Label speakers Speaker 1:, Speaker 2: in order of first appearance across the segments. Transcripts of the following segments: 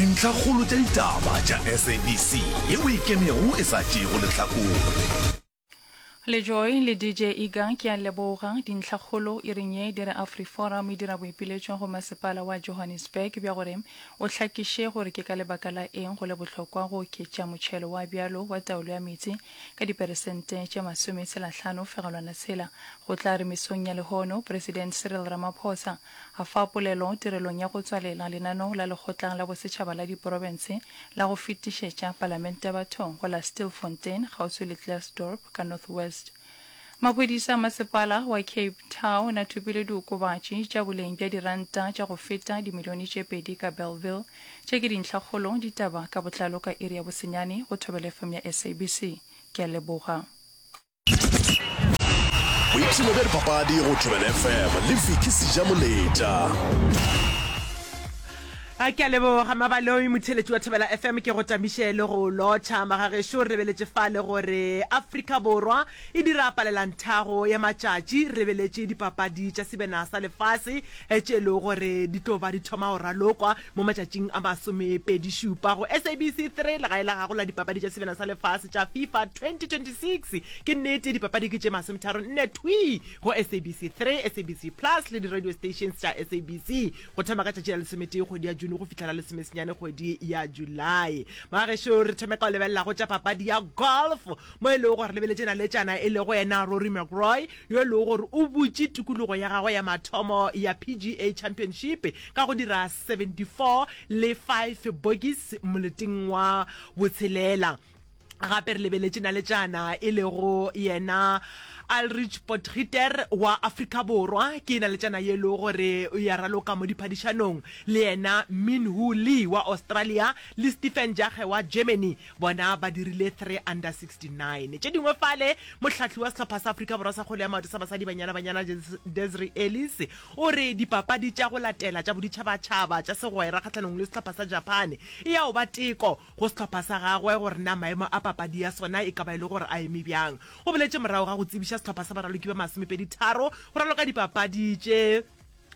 Speaker 1: Dintlhakgolo tša ditaba tša SABC yeo e ikemego e sa tšeego lehlakore.
Speaker 2: Le Joy le DJ Iga ke a leboga. Dintlhakgolo iring ye di re AfriForum e dira boipiletšo go masepala wa Johannesburg bja gore o hlakiše gore ke ka lebaka la eng go le bohlokwa go oketša motšhelo wa bjalo wa taolo ya meetse ka diperesente tše masometshelahlano fegelwana tshela. Go tla re mesong ya lehono President Cyril Ramaphosa a fa polelo tirelong ya go tswalela lenaneo la Lekgotla la Bosetšhaba la Diprofense la go fetišetša Palamente bathong go la Stilfontein kgauswi le Klerksdorp ka North West. Maphodisa a masepala wa Cape Town a thopile diokobatši tša boleng bja diranta tša go feta dimilione tše pedi ka Bellville. Tše ke dintlhakgolo ditaba ka botlalo ka iri ya bosenyane go Thobela FM ya SABC. Ke a leboga.
Speaker 1: Boipshino bja dipapadi go Thobela FM le Vicky Sejamoletša.
Speaker 3: A ke a leboga Mabaloi motheeletši wa Thobela FM ke go tamiše le go lotšha magagešo re lebeletše fale gore Afrika Borwa e dira palelanthago ya matšatši re lebeletše dipapadi tša sebena sa lefase tše e lego gore di tlo ba di thoma go ralokwa mo matšatšing a masomepedišupa go SABC 3, legae la gago la dipapadi tša Sebjana sa Lefase tša FIFA 2026. Ke nnete, dipapadi ke tše masometharonne thwii go SABC 3, SABC Plus le di-radio stations tša SABC go thoma ka tšatši la lesometee kgwedi ya June go fihla la lesomesenyane kgwedi ya Julae. Magagešo, re thome ka go lebelela go tša papadi ya golf mo e lego gore lebeletše naletšana e lego yena Rory McIlroy yo e lego gore o butše tikologo ya gagwe ya mathomo ya PGA Championship ka go dira 74 le 5 bogeys moleteng wa botshelela. Gape re lebeletše naletšana e lego yena Alrich Potgieter wa Afrika Borwa, ke naletšana ye e lego gore ya raloka mo diphadišanong le yena Min Woo Lee wa Australia le Stephen Jager wa Germany. Bona ba dirile 3 under 69. Tše dingwe fale, mohlahli wa sehlopha sa Afrika Borwa sa kgwele ya maoto sa basadi Banyana Banyana Desiree Ellis o re dipapadi tša go latela tša boditšhabatšhaba tša segwera kgahlanong le sehlopha sa Japan e ya go ba teko go sehlopha sa gagwe gore na maemo a papadi ya sona e ka ba e le gore a eme bjang. O boletše morago ga go tsebiša sehlopha sa baraloki ba masomepeditharo go raloka dipapadi tše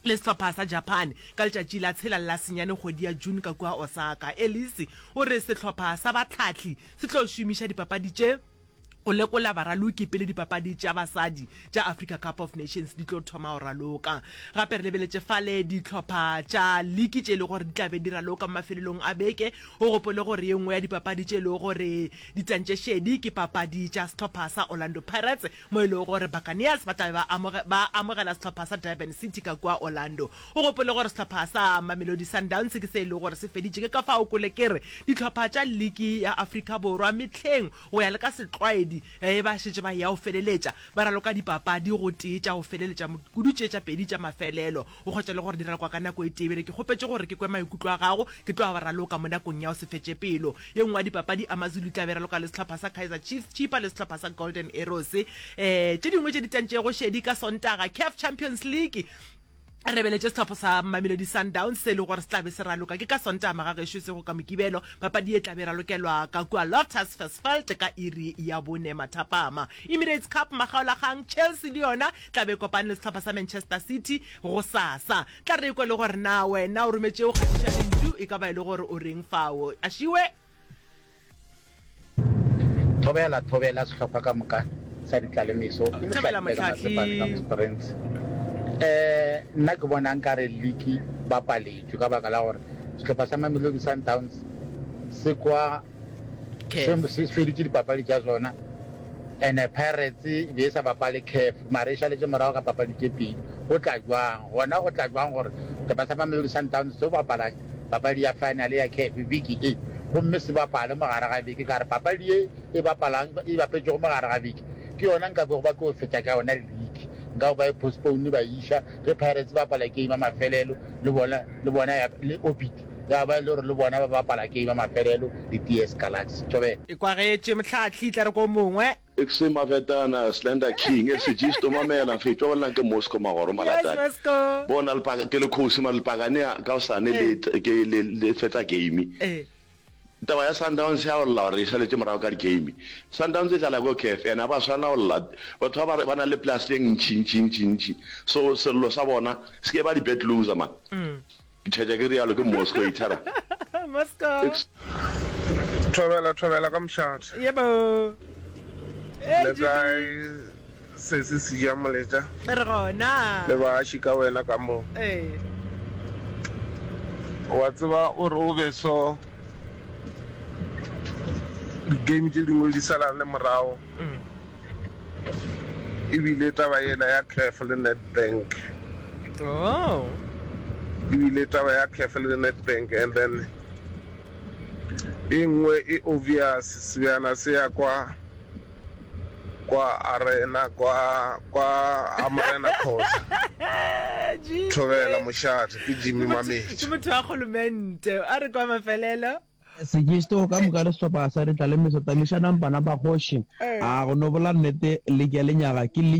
Speaker 3: le sehlopha sa Japan ka letšatši la tshela le la senyane kgwedi ya June ka kua Osaka. Ellis o re sehlopha sa bahlahli se tlo šomiša dipapadi tše go lekola baraloki pele dipapadi tša basadi tša Africa Cup of Nations di tlo thoma go raloka. Gape re lebeletše fale dihlopha tša liki tše e lego gore di tla be di raloka mo mafelelong a beke. O gopole gore ye nngwe ya dipapadi tše e lego gore di tsentše šedi ke papadi tša sehlopha sa Orlando Pirates mo e lego gore Buccaneers ba tla be ba ba amogela sehlopha sa Durban City ka kua Orlando. O gopole gore sehlopha sa Mamelodi Sundowns ke se e lego gore se feditše, ke ka fao kole ke re dihlopha tša liki ya Afrika Borwa mehleng go ya le ka setlwaedi ge ba šetše ba eya go feleletša ba raloka dipapadi gotee tša go feleletša kudu tše tša pedi tša mafelelo. O hwetša le gore di ralokwa ka nako e tee. Bjale ke kgopetše gore ke kwe maikutlo a gago, ke tlo ba raloka mo nakong ya go se fetše pelo. Ye nngwe ya dipapadi, AmaZulu e tla be e raloka le sehlopha sa Kaizer Chiefs, Chippa le sehlopha sa Golden Arrows. Tše dingwe tše di tsentšego šedi ka Sontaga, Caf Champions League, re lebeletše sehlopha sa Mamelodi Sundowns se e lego gore se tla be se raloka ke ka Sontaga magagešo e sego ka Mokibelo. Papadi ye tla be e ralokelwa ka kua Loftus Versfeld ka iri ya bone mathapama. Emirates Cup makgaolakgang, Chelsea le yona tla be e kopane le sehlopha sa Manchester City gosasa. Tla re kwe le gore na wena o rometše o kgatiša lentšu e ka ba e le gore o reng fao. Ašiwe.
Speaker 4: Thobela, thobela sehlopha ka moka sa ditlalemeso. Ke
Speaker 3: Thobela
Speaker 4: Mohlahli ka Matsepane ka
Speaker 3: Mohlahli.
Speaker 4: Mosprings. Eh, nna ke bona nkare liki ba paletšwe ka baka la gore sehlopha sa Mamelodi Sundowns se kwa
Speaker 3: Caf.
Speaker 4: Se feditše dipapadi tša sona and Pirates e be e sa bapale Caf mara e šaletše morago ka papadi tše pedi. Go tla jwang gona? Go tla jwang gore sehlopha sa Mamelodi Sundowns se bapala papadi ya final ya Caf beke e gomme se bapale mo gare ga beke? Ka re papadi ye e bapalang e bapetšego mo gare ga beke ke yona nka bego ba tlo fetša ka yona league. Nka bo ba e postpone ba e iša ge Pirates e bapala game ya mafelelo le bona le bona ya le Orbit. Ya ba e le gore le bona ba bapala game ya mafelelo le TS Galaxy. Thobela.
Speaker 3: E kwagetše mohlahli, tla re ko mongwe.
Speaker 5: Xe Mavetana, Slender King, Exigisto, mamela, mfethu wa bolelang ke Moscow Magoro
Speaker 3: Yes,
Speaker 5: Malatane.
Speaker 3: Moscow.
Speaker 5: Bona lepaka ke le khosi mara lepakane ka hosane le
Speaker 3: Eh.
Speaker 5: ke le le fetsa game.
Speaker 3: Eh.
Speaker 5: Taba ya Sundowns ya go lla gore e šaletše morago ka di game. Sundowns e dlala ko CAF and ga ba swanela go lla. Batho ba ba ba na le plus ye ntši ntši ntši ntši. So sello sa bona se ke ba di bet loser man. Ke tšhetša ke realo ke Moscow ithara.
Speaker 3: Moscow.
Speaker 6: Thobela thobela ka mošate.
Speaker 3: Yebo. Hey,
Speaker 6: Le
Speaker 3: Jimmy.
Speaker 6: kae sesi Seja Moletša?
Speaker 3: Re gona.
Speaker 6: Le baaši ka wena ka mo.
Speaker 3: Ee.
Speaker 6: Wa tseba o re o be so di-game tše dingwe di sala le morago. E bile taba yela ya Caf le Nedbank.
Speaker 3: Oh.
Speaker 6: E bile taba ya Caf le Nedbank and then e nngwe e obvious sebjana se ya kwa kwa arena kwa kwa ha Morena Khoza. Thobela mošate ke Jimmy Mametša.
Speaker 3: Ke motho wa kgolomente. A re kwa mafelelo.
Speaker 7: Sekisto ka moka le sehlopha sa Ditlalemeso tamišanang bana ba kgoši. A go no bola nnete league ya lenyaga ke league.